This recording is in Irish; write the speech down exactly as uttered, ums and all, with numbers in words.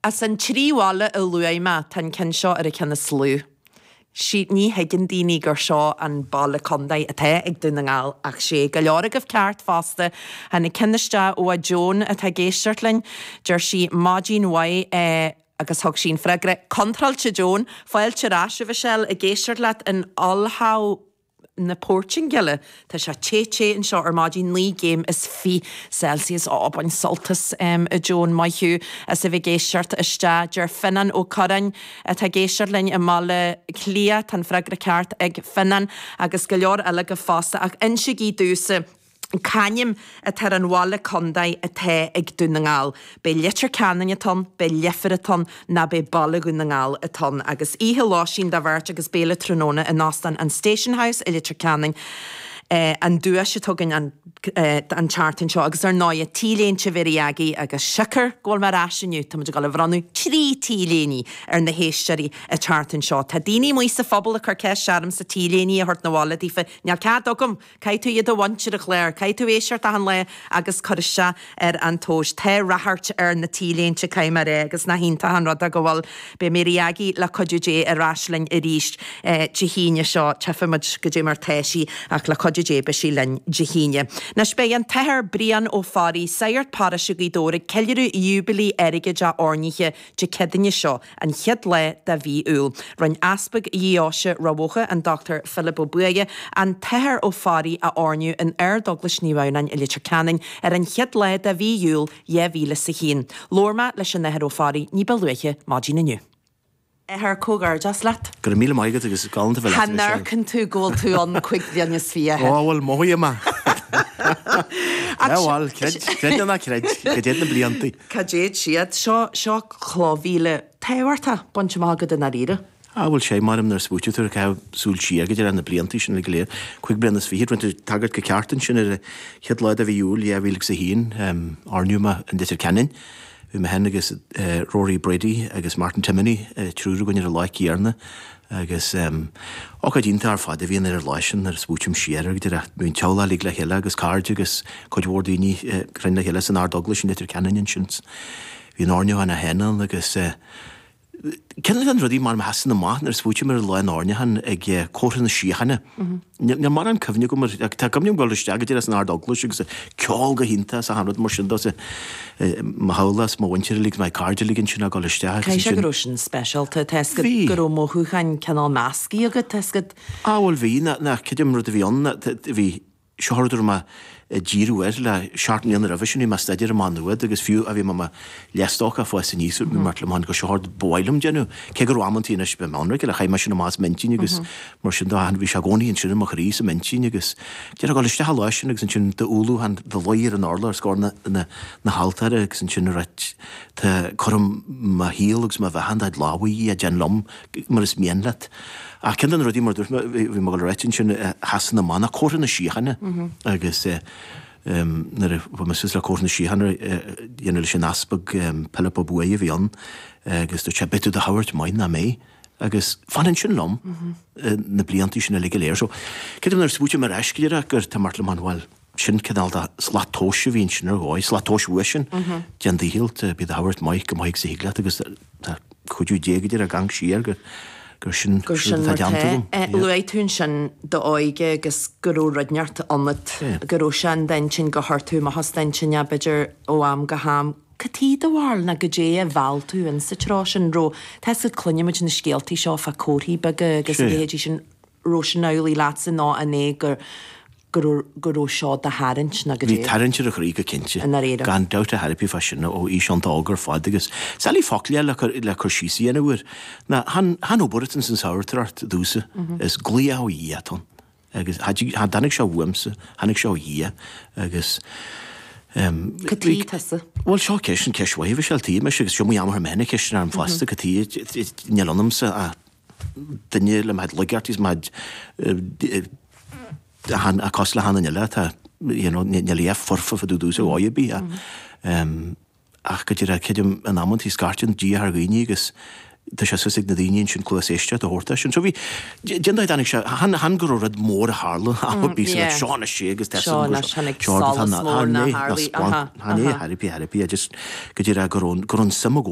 As an trí bhaile a luaigh mé tá an ceann seo ar an cheann is lú. Sí ní thuigeann daoine gur seo an baile contae atá ag Dún na nGall ach sé go leor agaibh ceart fosta tháinig ceann isteach ó a Joan atá ag éisteacht linn, deir sí maidin mhaith eh, agus thug sí an freagra contráilte Joan, fáilte ar ais a Mhichelle ag éisteacht leat in Olhão na Portaingéile Tá sé te te anseo ar maidin naoi gcéim is fiche Celsius á bain sult as um, a Joan maith thú as a bheith ag éisteacht isteach deir Finan Ó Curráin atá ag éisteacht linn i mBaile Cliath tá an freagra ceart ag Finan agus go leor eile go fosta ach insígí domhsa C'ainm atá ar an bhaile contae atá ag Dún na nGall. B'é Leitir Ceanainn atá ann, b'é Leifear atá ann nó b'é Baile Dhún na nGall atá ann agus oíche lóistín do bheirt agus béile tráthnóna in Óstán an Station House i Leitir Ceanainn. Eh, an duais atá againn an, eh, an tseachtain seo agus ar ndóigh T-léinte Mhary Aggie agus siocair go bhfuil mé ar ais inniu Tá muid ag dul a bhronnadh trí T-léine ar na héisteoirí an tseachtain seo. Tá daoine amuigh sa phobal ag cur ceist ormsa T-léine a thabhairt na bhaile daofa Níl cead agam, Caithfidh tú iad a bhaint ar an chlár, Caithfidh tú éisteacht achan lá agus cur isteach ar an tomhas Tá ráchairt ar na T-léinte caithfidh mé a rá agus nach iontach an rud go bhfuil Beidh Mary Aggie le cuidiú Dé ar ais linn arís eh, Dé hAoine seo tchífimid goidé mar tá sí ach le cuidiú Dé beidh sí linn Dé hAoine. Anois beidh an tAthair Brian Ó Fearraigh sagart paróiste Ghaoth Dobhair ag ceiliúradh Iúibilí airgid a oirnithe Dé Céadaoine seo an chéad lá de mhí Iúil. Rinne Easpag Dheoise Ráth Bhoth an Dr Philip Ó Buaidhe an tAthair Ó Fearraigh a oirniú in Ardeaglais Naomh Adhamhnáin i Leitir Ceanainn ar an chéad lá de mhí Iúil dhá mhíle is a haon. Labhair mé leis an Athair Ó Fearraigh ní ba luaithe maidin inniu. Athair comhghairdeas leat. Go raibh míle maith agat agus galánta bheith leat. Chan amharcann tú go bhfuil tú ann cúig bliana is fiche. Ó bhfuil mothaím é. Bhuel creid ná creid go dtéid na blianta. Cá dtéid siad seo seo clochmhíle tábhachtach bainte amach agat i ndáiríre. Á bhfuil sé mar nuair a smaoiníonn tú caitheamh súil siar go dtí na blianta sin le go léir cúig bliana is fiche rinne tú tagairt go ceart ansin ar chéad lá de mhí Iúil dhá mhíle agus a haon oirníodh mé in Leitir Ceanainn. Bhí mé féin agus Rory Brady agus Martin Timoney triúr againn ar an lá céanna agus ócáid iontach ar fad a bhí ann ar an lá sin nuair a smaoiním siar air go dtí bhí an teaghlach uilig le chéile agus cairde agus cuid mhór daoine cruinn le chéile san Ardeaglais in Leitir Ceanainn ansin. Bhí an oirniúchán é féin ann agus Ceann de na rudaí mar a sheasann amach nuair a smaoiním ar an lá an oirniúcháin ag comhartha na síochána. Níl mórán cuimhne agam ar tá cuimhne agam dul isteach go dtí san Ardeaglais agus ceol go hiontach is achan rud mar sin de mo theaghlach is mo mhuintir uilig mo chairde uilig ansin ag dul isteach agus Caithfidh sé ansin go raibh sin speisialta tá 'fhios agat Bhí. go raibh mothúcháin cineál measctha agat tá 'fhios agat. Á bhuel bhí ná ná creidim rud a bhí ann ná bhí Seo rud a raibh mé ag díriú air le seacht mbliana roimhe sin, bhí mé ag staidéar i Maigh Nuad agus fiú a bhí mé i mo leathstócach ag fás aníos, bhí mé le go seo rud ba mhaith liom déanamh. Cé go raibh amantaí anois, bheith ionraic, le chaith mé sin amach as m'intinn agus mar sin de, bhí sé i gcónaí ansin i mo chroí is i m'intinn agus déarfá dul isteach an lá sin agus ansin d'umhlúchán do luí ar an urlár os comhair na, na, na haltóra agus ansin a ráit tá, cuirim mo shaol agus mo bheatha in do lámha, a Dhia, déan liom mar is mian leat. Ach ceann de na rudaí mar a dúirt mé, bhí mé ag dul a ráit ansin, a sheasann amach ná comhartha na síochána agus nuair a bhí mé suas le comhartha na síochána a dhéanamh leis an Easpag Pilib Ó Buaidhe a bhí ann agus dúirt sé, beidh tú do thabhairt maith nach mbeidh? Agus fanann sin liom na blianta sin uilig go léir. So, creidim nuair a smaoiním ar ais go díreach gur tá mar liom an bhuel, sin cineál de slat tomhais a bhí ansin ar dhóigh, slat tomhais uaidh sin, déan do dhícheall, bí do thabhairt maith go maith agus a thig leat agus tá cuidiú Dé go deireadh gan siar gur gur sin Gur sin rud mar atá déanta tá. agam. Eh, Yeah. Luaigh tú ansin d'óige agus go raibh rud inteacht ionat, Yeah. go raibh sé in d'intinn gur chuir tú amach as d'intinn é b'fhéidir ó am go ham. Cad é do bharúil nó goidé a mheall tú insa treo sin? Raibh, tá 'fhios agat cluinimid na scéaltaí seo fá comharthaí beaga agus a Sea. leithéidí sin, raibh sin amhlaidh leatsa nó an é gur go raibh go raibh seo do tharraingt nó Bhí goidé? tarraingt ar a chroí go cinnte. I ndáiríre. Gan dabht ar bith fá sin ó aois iontach óg ar fad agus is doiligh focail le cur le cur síos a dhéanamh air. Ná chan chan obair atá ins an sagartóireacht domhsa, is glaoch ó Dhia atá ann. Agus cha dtig cha dtáinig sé uaimse, tháinig sé ó Dhia agus em Cad tuige tusa? Bhuel seo ceist an ceist mhaith a Mhichelle, tuigim agus seo mo dheartháir mé féin ag ceist orm fosta cad tuige níl ionamsa ach duine le mo chuid laigeachtaí is mo chuid cosúil le haon duine eile atá you know níl a dhath foirfe fá dtaobh domhsa ar dhóigh ar bith ach go díreach creidim in amantaí scairteann Dia thar dhaoine agus tá sé suas ag na daoine ansin cluas éisteachta a thabhairt dó sin. So bhí déan dóigh tháinig sé chan chan go raibh rud mór a tharla am ar bith so like yeah. seo anois é agus tá Seo anois tháinig seo solas mór ná ná tharlaigh splanc aha chan é aha. thar ar bith thar ar bith just go díreach go raibh go raibh an suim agam